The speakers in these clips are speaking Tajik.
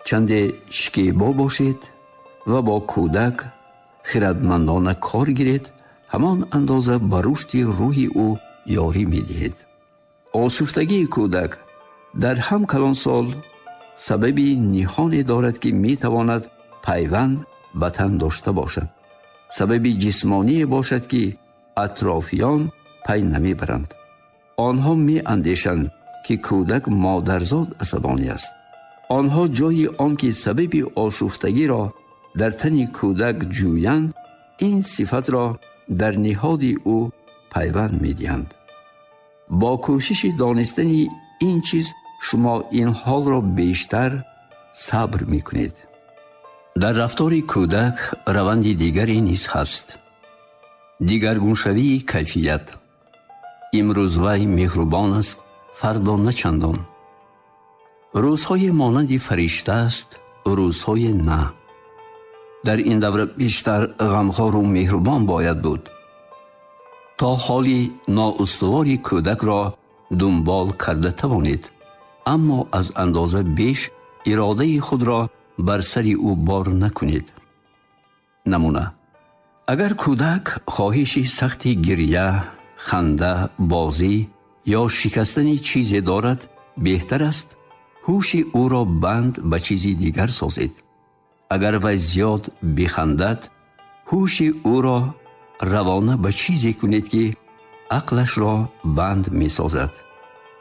Чанде шикебо бошед ва бо кӯдак хирадмандона кор гиред, ҳамон андоза ба рушди рӯҳи ӯ ёрӣ медиҳед. Ошуфтагии кӯдак дар ҳам калонсол сабаби ниҳоне дорад, ки метавонад пайванд ба тан дошта бошад, сабаби ҷисмоние бошад, ки атрофиён пай намебаранд. Онҳо меандешанд, ки кӯдак модарзод асабонӣ аст. Онҳо ҷои он ки сабаби ошуфтагиро дар тани кӯдак ҷӯянд, ин сифатро дар ниҳоди ӯ пайванд медиҳанд. Бо кӯшиши донистани ин чиз шумо ин ҳолро бештар сабр мекунед. Дар рафтори кӯдак раванди дигаре низ ҳаст: дигаргуншавии кайфият. Имрӯз вай меҳрубон аст, фардо на чандон. Рӯзҳое монанди фаришта аст, рӯзҳое на. Дар ин давра бештар ғамхору меҳрубон бояд буд, то ҳоли ноустувори кӯдакро дунбол карда тавонед, аммо аз андоза беш иродаи худро бар сари ӯ бор накунед. Намуна: агар кӯдак хоҳиши сахти гиря, ханда, бозӣ ё шикастани чизе дорад, беҳтар аст ҳуши ӯро банд ба чизи дигар созед. Агар вай зиёд бихандад, ҳуши ӯро равона ба чизе кунед, ки ақлашро банд месозад.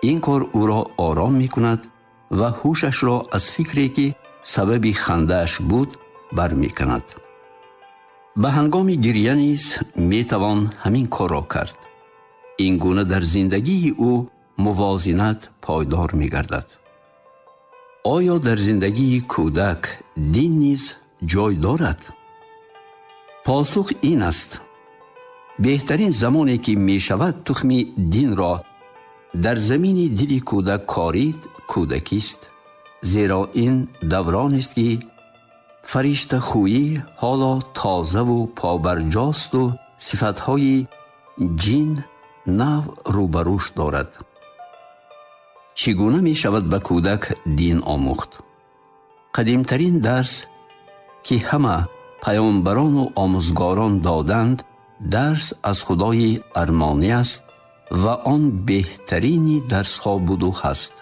Ин кор ӯро ором мекунад ва ҳушашро аз фикре, ки сабаби хандааш буд, бармеканад. Ба ҳангоми гиря низ метавон ҳамин корро кард. Ин гуна дар зиндагии ӯ мувозинат пойдор мегардад. Оё дар зиндагии кӯдак дин низ ҷой дорад? Посух ин аст: беҳтарин замоне ки мешавад тухми динро дар замини дили кӯдак корид, кӯдакист, зеро ин давронест, ки фариштахӯӣ ҳоло тозаву побарҷосту сифатҳои ҷин нав рӯбарӯш дорад. Чӣ гуна мешавад ба кӯдак дин омӯхт? Қадимтарин дарс, ки ҳама паёмбарону омӯзгорон доданд, дарс аз Худои армонӣ аст ва он беҳтарини дарсҳо буду ҳаст.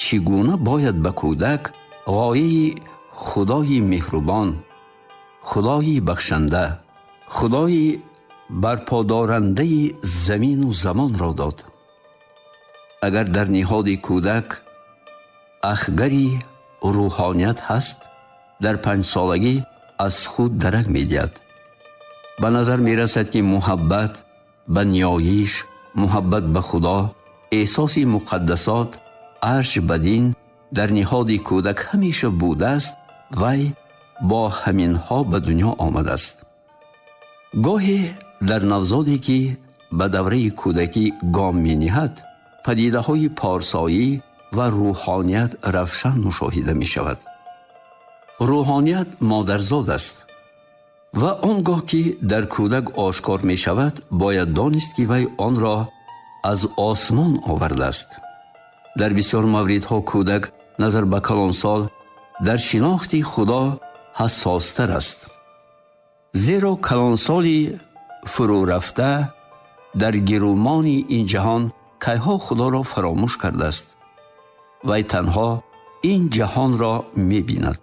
Чӣ гуна бояд ба кӯдак ғояи Худои меҳрубон, Худои бахшанда, Худои барподорандаи замину замонро дод? Агар дар ниҳоди кӯдак ахгари рӯҳоният ҳаст, дар 5-солагӣ аз худ дарак медиҳад. Ба назар мерасад, ки муҳаббат ба ниёиш, муҳаббат ба Худо, эҳсоси муқаддасот, арҷ ба дин дар ниҳоди кӯдак ҳамеша будааст. Вай бо ҳаминҳо ба дунё омадааст. Гоҳе дар навзоде, ки ба давраи кӯдакӣ гом мениҳад, падидаҳои порсоӣ ва рӯҳоният равшан мушоҳида мешавад. Рӯҳоният модарзод аст ва он гоҳ ки дар кӯдак ошкор мешавад, бояд донист, ки вай онро аз осмон овардааст. Дар бисёр мавридҳо кӯдак назар ба калонсол дар шинохти Худо ҳассостар аст, зеро калонсоли фурӯрафта дар гирумони ин ҷаҳон кайҳо Худоро фаромӯш кардааст. Вай танҳо ин ҷаҳонро мебинад.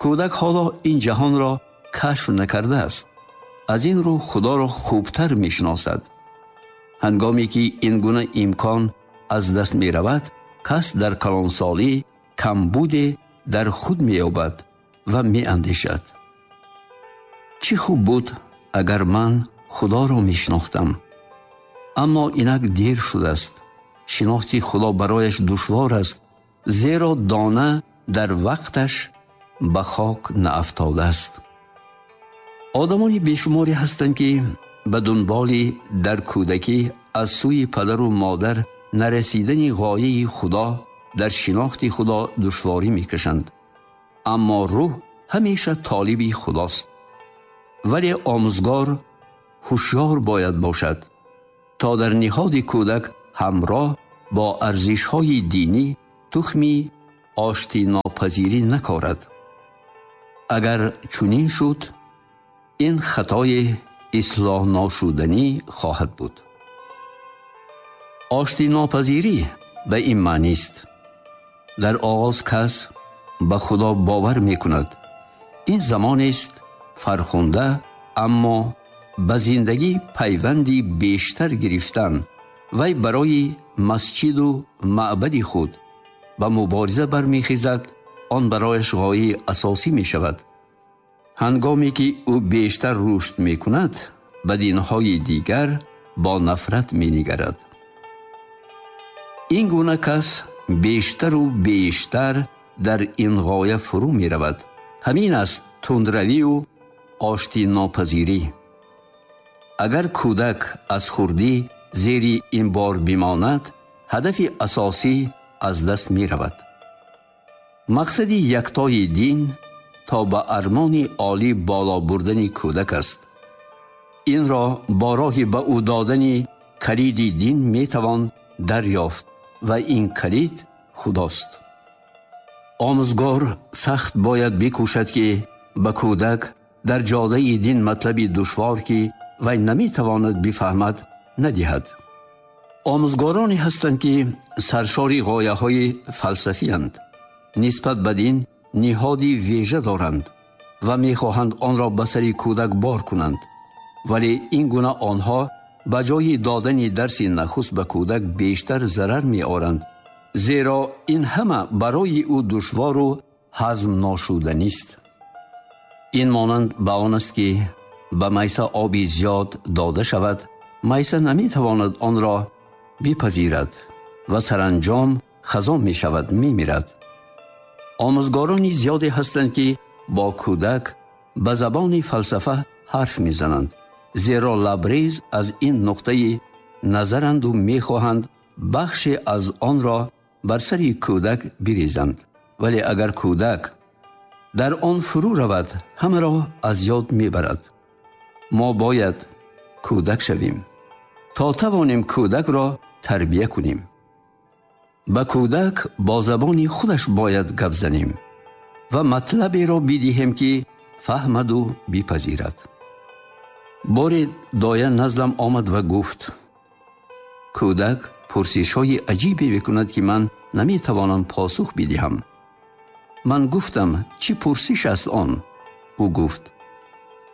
Кӯдак ҳоло ин ҷаҳонро кашф накардааст, аз ин рӯ Худоро хубтар мешиносад. Ҳангоме ки ин гуна имкон аз даст меравад, кас дар калонсолӣ камбуде дар худ меёбад ва меандешад: чӣ хуб буд, агар ман Худоро мешинохтам. Аммо инак дер шудааст. Шинохти Худо барояш душвор аст, зеро дона дар вақташ ба хок наафтодааст. Одамони бешуморе ҳастанд, ки ба дунболи дар кӯдакӣ аз сӯи падару модар нарасидани ғояи Худо дар шинохти Худо душворӣ мекашанд. Аммо рӯҳ ҳамеша толиби Худост. Вале омӯзгор ҳушёр бояд бошад, то дар ниҳоди кӯдак ҳамроҳ бо арзишҳои динӣ тухми оштинопазирии оштинопазирӣ накорад. Агар чунин шуд, ин хатои ислоҳношуданӣ хоҳад буд. Оштинопазирӣ ба ин маънист: дар оғоз кас ба Худо бовар мекунад. Ин замонест фархунда, аммо ба зиндагӣ пайванди бештар гирифтан вай барои масҷиду маъбади худ ба мубориза бармехезад. Он барояш ғояи асосӣ мешавад. Ҳангоме ки ӯ бештар рушд мекунад, ба динҳои дигар бо нафрат менигарад. Ин гуна кас бештару бештар дар ин ғоя фурӯ меравад. Ҳамин аст тундравию оштинопазирӣ. Агар кӯдак аз хурдӣ зери ин бор бимонад, ҳадафи асосӣ аз даст меравад. Мақсади яктои дин то ба армони олӣ боло бурдани кӯдак аст. Инро бо роҳи ба ӯ додани калиди дин метавон дарёфт ва ин калид Худост. Омӯзгор сахт бояд бикӯшад, ки ба кӯдак дар ҷодаи дин матлаби душвор, ки вай наметавонад бифаҳмад, надиҳад. Омӯзгороне ҳастанд, ки саршори ғояҳои фалсафиянд, нисбат ба дин ниҳоди вежа доранд ва мехоҳанд онро ба сари кӯдак бор кунанд. Вале ин гуна онҳо ба ҷои додани дарси нахуст ба кӯдак бештар зарар меоранд, зеро ин ҳама барои ӯ душвору ҳазмношуданист. Ин монанд ба он аст, ки ба майса оби зиёд дода шавад, майса наметавонад онро бипазирад ва саранҷом хазон мешавад, мемирад. Омӯзгорони зиёде ҳастанд, ки бо кӯдак ба забони фалсафа ҳарф мезананд, зеро лабрез аз ин нуқтаи назаранду мехоҳанд бахше аз онро бар сари кӯдак бирезанд. Вале агар кӯдак дар он фурӯ равад, ҳамаро аз ёд мебарад. Мо бояд кӯдак шавем, то тавонем кӯдакро тарбия кунем. Ба кӯдак бо забони худаш бояд гап занем ва матлаберо бидиҳем, ки фаҳмаду бипазирад. Боре доя наздам омад ва гуфт: кӯдак пурсишҳои аҷибе мекунад, ки ман наметавонам посух бидиҳам. Ман гуфтам: чӣ пурсиш аст он? Ӯ гуфт: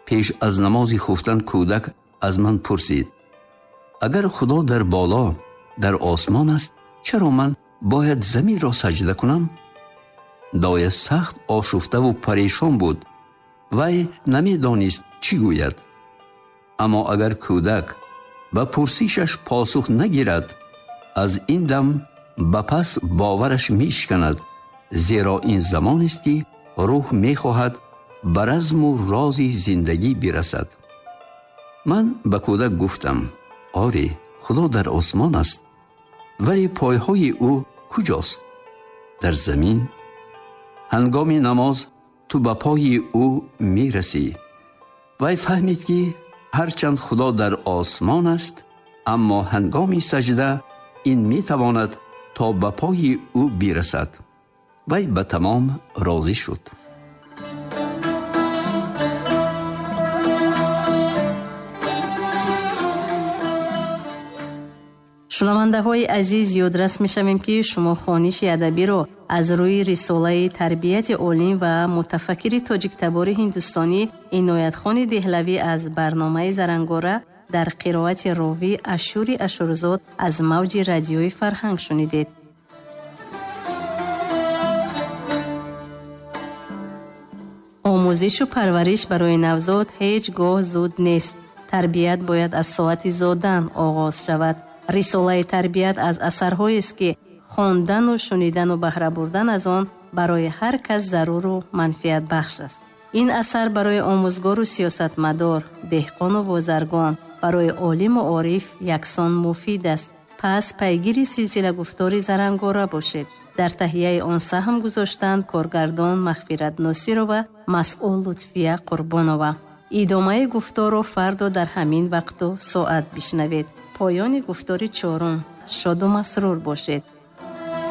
пеш аз намози хуфтан кӯдак аз ман пурсид: агар Худо дар боло, дар осмон аст, чаро ман бояд заминро саҷда кунам? Доя сахт ошуфтаву парешон буд. Вай намедонист чӣ гӯяд. Аммо агар кӯдак ба пурсишаш посух нагирад, аз ин дам ба пас бовараш мешиканад, зеро ин замонест, ки рӯҳ мехоҳад ба разму рози зиндагӣ бирасад. Ман ба кӯдак гуфтам: оре, Худо дар осмон аст, вале пойҳои ӯ куҷост? Дар замин. Ҳангоми намоз ту ба пои ӯ мерасӣ. Вай фаҳмид, ки ҳарчанд Худо дар осмон аст, аммо ҳангоми саҷда ин метавонад то ба пои ӯ бирасад. Вай ба тамом розӣ шуд. Шунавандаҳои азиз, ёдрас мешавем, ки шумо хониши адабиро аз рӯи рисолаи тарбияти олим ва мутафаккири тоҷиктабори ҳиндустонӣ Иноятхони Деҳлавӣ аз барномаи Зарангора дар қироати ровӣ Ашури Ашурзод аз мавҷи радиои Фарҳанг шунидед. Омӯзишу парвариш барои навзод ҳеҷ гоҳ зуд нест. Тарбият бояд аз соати зодан оғоз шавад. Рисолаи тарбият аз асарҳоест, ки хондану шунидану баҳра бурдан аз он барои ҳар кас заруру манфиатбахш аст. Ин асар барои омӯзгору сиёсатмадор, деҳқону бозаргон, барои олиму ориф яксон муфид аст. Пас пайгири силсилагуфтори Зарангора бошед. Дар таҳияи он саҳм гузоштанд коргардон Мағфират Носирова, масъул Лутфия Қурбонова. Идомаи гуфторро фардо дар ҳамин вақту соат бишнавед. Поёни гуфтори чорум. Шоду масрур бошед.